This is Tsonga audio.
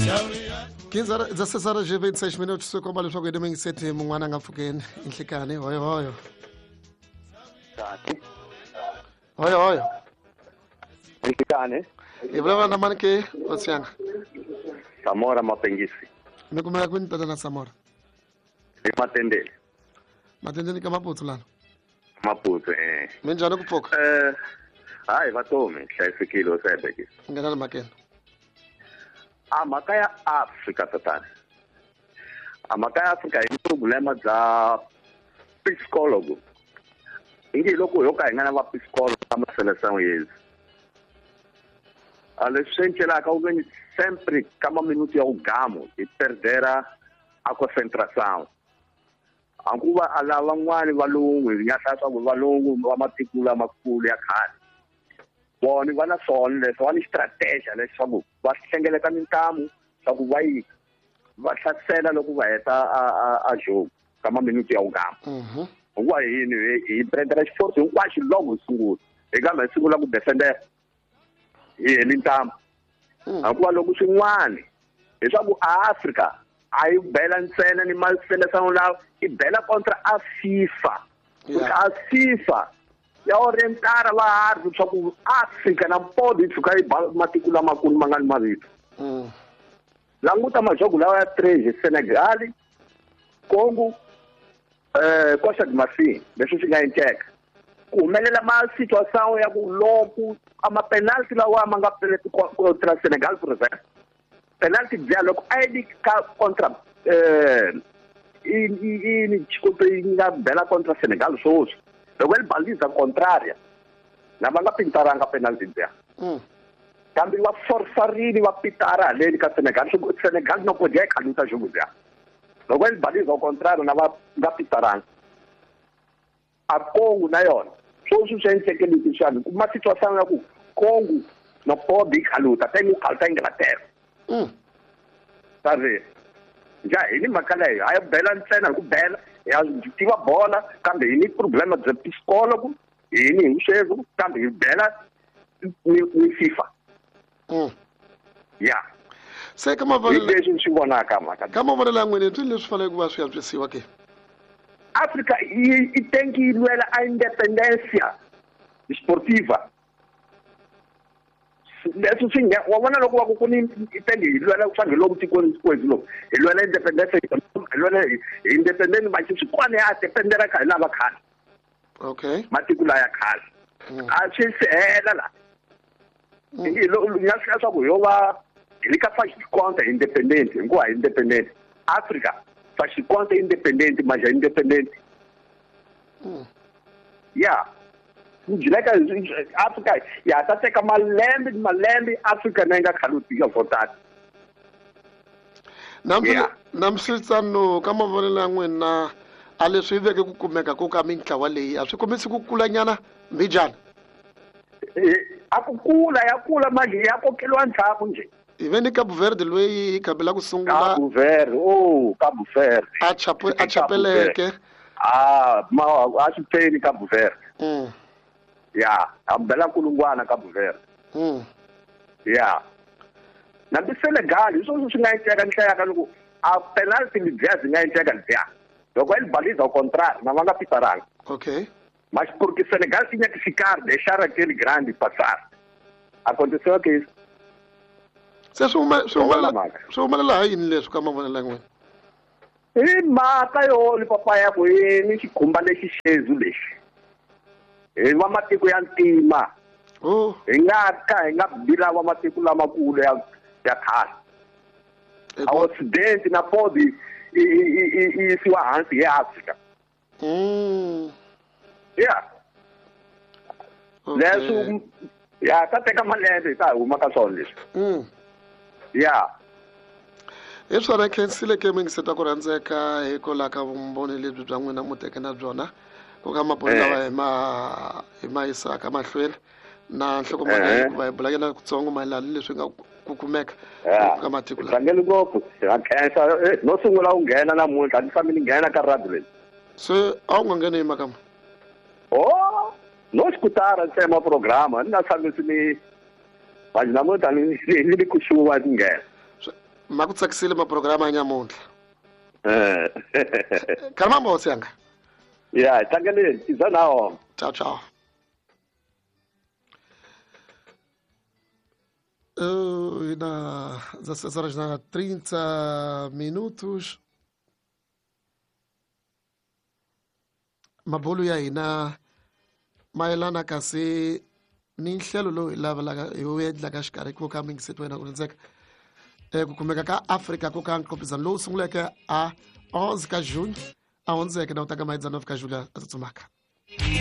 15 16 horas e 26 minutos swi komba leswaku hi nimingiseti mun'wana a nga pfukeni inhlikani hoyohoyo hoyohoyo Inhlikani hi vulavula na mani ke hosi yanga Samora Mapengisi mi kumeka kwini tatana Samora hi Matendeni Matendeni ka Maputsu lana Maputsu minjhani ku pfuka hayi vatomi hlayisekile usayibekisa nghena le mhakeni a mhaka ya Afrika tatana a mhaka ya Afrika hi problema bya psikologo ingi loko yo ka hi nga na va psikologo ka maseleção yezi a leswi swi encelaka u veni sempre ka maminutu ya ugamo hi perdera a concentração hikuva a lava van'wani valungu hi nga hlaya swa ku valungu va matiko lamakulu ya khale vona va na swona leswi va ni strategy leswaku va hlengeleta mintamu swa ku va yi va hlasela loko va heta a jogo ka maminutu ya ugama hikuva yini hi prendela xiforce hinkwaxo loko hi sungula hi kambe hi sungula ku defendera hi heli ntamu hikuva loko swin'wani leswaku a Afrika a yi bela ntsena ni maselesano lawa i bela kontra a FIFA a FIFA ya orientara va hari leswaku Afrika na podi yi tshuka yi ba matiko lamakulu ma nga ni mavito languta majogo lawa ya 3 Senegal Congo Costa de Marfil leswi swi nga endleka ku humelela ma situation ya ku loko ama penalty lawa ma nga kontra Senegal for example penalty bya loko a yi ka kontra i xikoto yi nga bela kontra Senegal swoswi loko yi baliza contraria lava nga pintaranga penalty bya kambe va forsarini va pitara haleni ka Senegal Senegal no podia yi khaluta jogo bya loko yi baliza contrario na va nga pitaranga a Congo na yona swoswi swi endleke leswi xana kuma situation ya ku Congo no podi khaluta tengo khaluta Inglaterra tari nja hi ni mhaka leyo a yi bela ntsena hi ku bela ya tiva bola kambe hi ni problema bya psikologo hi ni hi sweswo kambe hi bela ni FIFA ya se ka mavonelo leswi swi vonaka mhaka ka mavonelo ya n'wina i leswi faneleke ku va swi antswisiwa ke Afrika i tem que lwela a independência esportiva leswi swi nga wa vona loko va ku ku ni i tem que lwela swa hi lomu tikweni kwezi lomu hi lwela independência hi lwela hi independence ma swi kwana ya dependera ka hi lava khale okay matiko la ya khale a swi se hela la hi lo nga swi swa ku yo va hi le ka faz de conta independente hikuva independente Africa faz de conta independente mas é independente ya njileka Africa ya ta teka malembe ni malembe Africa na yi nga khalutika votata Namisitsano ka mavonelo ya n'wina a leswi veke ku kumeka ku ka mintlawa leyi a swi kombisi ku kulanyana mbijana a ku kula ya kula manje ya kokeliwa ndzhaku nje hi ve ni Cabo Verde loyi hi khabela ku sungula Cabo Verde oh Cabo Verde a chapeleke a ma a swi pfeni Cabo Verde ya a bela kulungwana Cabo Verde ya na ti Senegal hi swona swi nga endleka ni hlayaka loko a penalty lebyiya byi nga endleka lebyiya loko va yi baliza au contrario na va nga pitaranga okay mas porque Senegal tinha que ficar deixar aquele grande passar aconteceu que isso se swi humelela ha yini leswi ka mavonelo ya n'wina hi mhaka yo ni papa ya ku hi ni xikhumba lexi xezu lexi hi va matiko ya ntima hi nga ka hi nga bila va matiko lamakulu ya khale a occidente na podi i yisiwa hansi hi Afrika ya leswi ya ta teka malembe hi ta huma ka swona leswi ya hi swona khensile ke mingiseta ku rhandzeka hikwalaho ka vumbhoni lebyi bya n'wina mu teke na byona ku ka maboni lawa hi ma yisaka mahlweni na nhlokomhaka hikuva hi bulanyana kutsongo mayelana ni leswi nga ku kumeka ka matiko lawa tlangeli ngopfu ha khensa no sungula u nghena namuntlha ni fambi ni nghena ka radio leyi se a wu nga ngheni hi makama oh no xikutara ntsema programa ni nga tshami ni manje namuntlha ni ni kusuwa ni nghena Ma ku tsakisile maprograma ya nyamuntlha. Khalimambo hosi yanga. Ya, hi tlangeleni, iza nawo. Ciao ciao. Na 16 horas na 30 minutos. Mabulu ya hina mayelana kasi ni nhlelo lowu hi lavelaka hi wu endlaka xikarhi ko ka mingiseti wena ku rindzeka ku kumeka ka Afrika ku ka nqopizano lowu sunguleke a 11 ka June a hundzeke na u ta ka maedzana ka Julia a tsutsumaka.